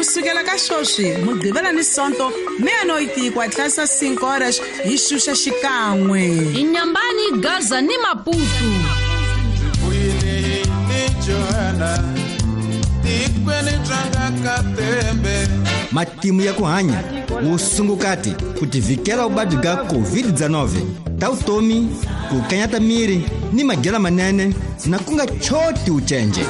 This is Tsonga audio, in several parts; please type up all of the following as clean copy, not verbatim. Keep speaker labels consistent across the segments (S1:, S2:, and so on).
S1: Kusukela ka swoswi Mugqivela ni Sonto meia-noite e 4 horas hi xuxa xikan'we.
S2: Inyambani, Gaza ni Maputo.
S3: Matimu ya ku hanya vusungukati ku tivhikela vuvabyi bya COVID-19 ta vutomi ku kanyata miri ni madyelo manene na ku nga choti ucenje.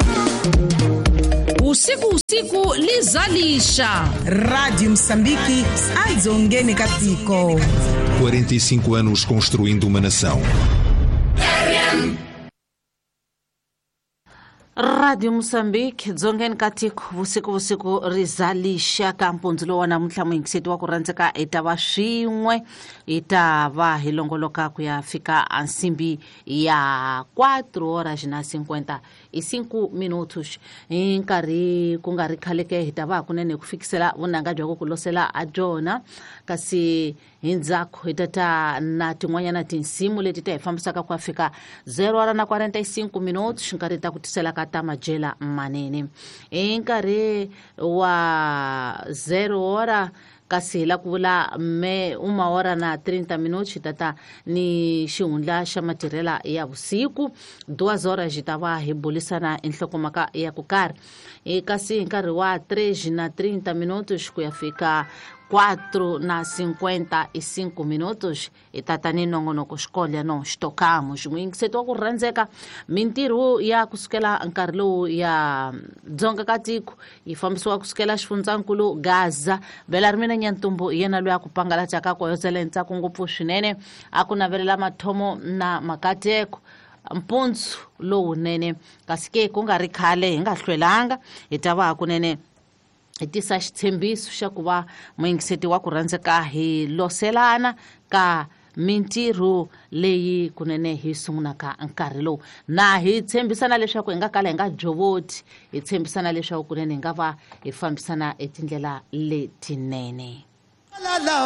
S2: Usiku usiku lizalisha.
S1: Rádio Moçambique, adzongeni ka tiko.
S4: 45 anos construindo uma nação.
S5: Radio Moçambique, dzongeni ka tiko, vusiku vusiku rizalisha ka mpundzu lowu wa namuntlha muyingiseti wa ku rhandzeka hi ta va swin'we hi ta va hi longoloka ku ya fika a nsimbi ya 4 horas na 55 minutos. Hi nkarhi ku nga ri khale ke hi ta va hakunene ku fikisela vunanga bya ku ku losela a byona, kasi hi ndzhaku hi ta ta na tin'wanyana tinsimu leti ta hi fambisaka ku ya fika 0 hora na 45 minutos, nkarhi ta ku tisela ka ta madyela manene. Hi nkarhi wa 0 hora kasi hi la ku vula me uma hora na 30 minutos hi tata ni xihundla xa matirhela ya vusiku 2 horas hi ta va hi bulisana enhlokomhaka ya ku karhi. Kasi hi nkarhi wa 3 na 30 minutos ku ya fika 4 na 55 minutos hi tata ni nongonoko xikolya no xitokamo xin'wiyingiseti wa ku rhandzeka mintirho ya kusukela nkarhi lowu ya dzonga ka tiko yi fambisiwa kusukela xifundzankulu Gaza. Bela ri mina Nyantumbu hi yena loyi a ku pangalataka koyozela ntsako ngopfu swinene a ku navelela mathomo na makateko mpundzu lowunene. Kasi ke ku nga ri khale hi nga hlwelanga hi ta va hakunene hi tisa xitshembiso xa ku va muyingiseti wa ku rhandzeka hi loselana ka mintirho leyi kunene hi sungulaka nkarhi lowu, na hi tshembisana leswaku hi nga kala hi nga jovoti, hi tshembisana leswaku kunene hi nga va hi fambisana etindlela letinene.